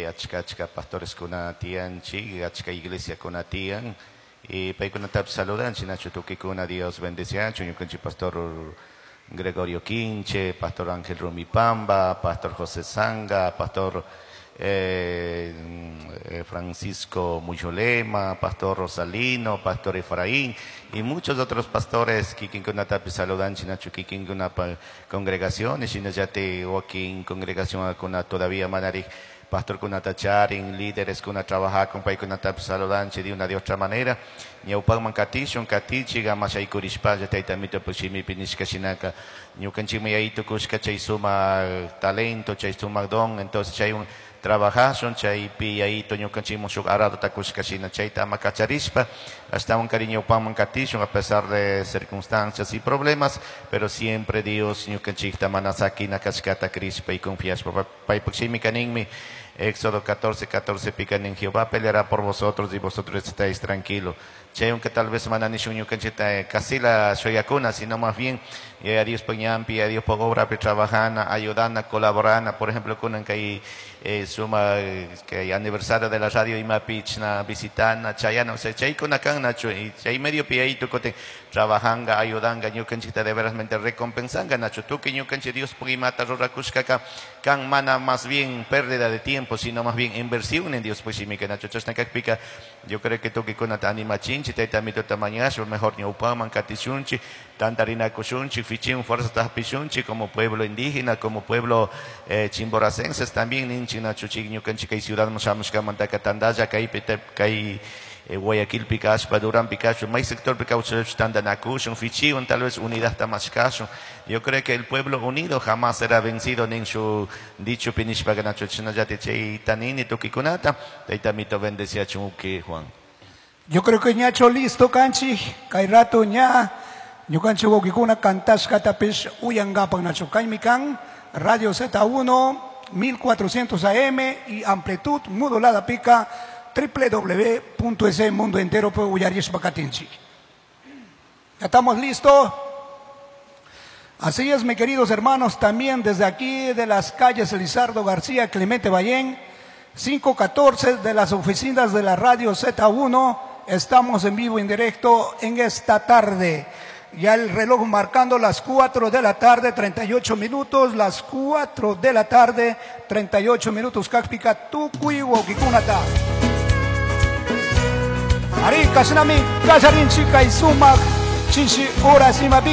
Achka achka pastores kuna tiyanchik, achka iglesia kuna tiyan. Y paykunatapish saludanchik, nachu tukikuna Dios bendeciachun, ñukanchik pastor Gregorio Quinche, pastor Ángel Rumipamba, pastor José Zanga, pastor Francisco Muyolema, pastor Rosalino, pastor Efraín y muchos otros pastores kikinkunatapish saludanchik, nachu kikinkunapa congregaciones, shinallati wakin congregación kuna todavía manarik pastor kunata charin, líderes kuna trabajakun, paykunatapish saludanchik de una de otra manera. Ñawpakman katishun, katichik, ama shaykurishpalla Tayta Amito shimipi nishka shinaka ñukanchikmi yayito kushka chay sumak talento, chay sumak don, entonces chaywan trabajashun, chaypi yayito ñukanchikman shuk aradota kushka shina chayta ama kacharishpa, ashtawan kari ñawpakman katishun a pesar de circunstancias y problemas, pero siempre Dios ñukanchikta mana sakina kashkata crishpa y confiashpa. Paypak shimika ninmi, Éxodo 14, 14 pica nin, Jehová peleará por vosotros y vosotros estáis tranquilos. Chay aunque tal vez mana nishun ñukanchikta kasila shuyakuna, sino más bien a Dios ñanpi, a Dios por obra trabajana, ayudana, colaborana. Por ejemplo, kunan kay suma que hay aniversario de la radio imapi chna visitana, chayana, o sea, chaykuna kan nachu, y chay medio pi tukote trabajanga, ayudanga, ñukanchikta de verasmente recompensanga, nachu, tukuy ñukanchik Dios imata rurakushkaka, kan mana más bien pérdida de tiempo, sino más bien inversión en Dios, pues shimika nachu, chashna kakpika, yo creo que tukuy kunata animachinchi, tayta Amitota mañashpa, mejor ñawpaman katishunchi, tantarinakushunchi, fichin fuerza tahpishunchi, como pueblo indígena, como pueblo chimboracenses también, ninchi nachu chik ñukanchik kay ciudad shamushkamantaka tandalla, kaypi kay Guayaquil kashpa, Durán kashpa, may sector kawsach tandanakushun, fichiwan, tal vez unidad tamashkashun. Yo creo que el pueblo unido jamás será vencido, nin su dicho pinishpa nachu chinallati chay tanini tukikunata, tayta Amito bendeciachun uki Juan. Yo creo que ñacho listo kanchi, kay rato ña, ñukanchik wawkikuna kantashkatapish uyangapak nacho. Kaymi kan, Radio Z1, 1400 AM y amplitud modulada pica doble u doble u doble u punto es mundo entero puede uyarishpa katinchik. ¿Ya estamos listos? Así es, mis queridos hermanos, también desde aquí de las calles Elizardo García, Clemente Ballén, 514 de las oficinas de la Radio Z1, estamos en vivo, en directo en esta tarde. Ya el reloj marcando las 4 de la tarde, 38 minutos, las 4 de la tarde, 38 minutos. Kakpika tukuy wawkikunata. Ari, kashinami, kallarinchik kay sumak, chishi horas imapika.